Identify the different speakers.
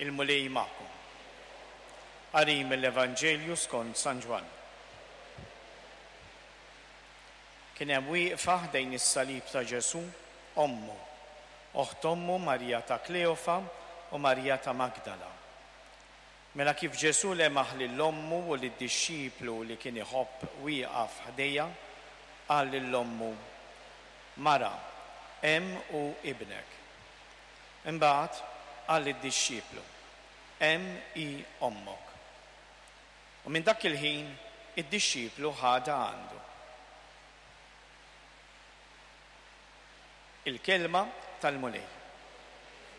Speaker 1: Il-Mulej magħkom. Qari mill-Evanġelju skont San Ġwann. Kien hemm wieqfa ħdejn is-salib ta' Ġesù ommu, oħt ommu Marija ta' Kleofa u Marija ta' Magdala. Mela kif Ġesù lemaħ lil ommu u lid-dixxiplu li kien iħobb wieqaf ħdejha, qal lil ommu, Mara, hemm hu ibnek. Imbagħad qal lid-dixxiplu, Hemm hi ommok. U minn dak il-ħin id-dixxiplu ħadha għandu. Il-Kelma tal-Mulej.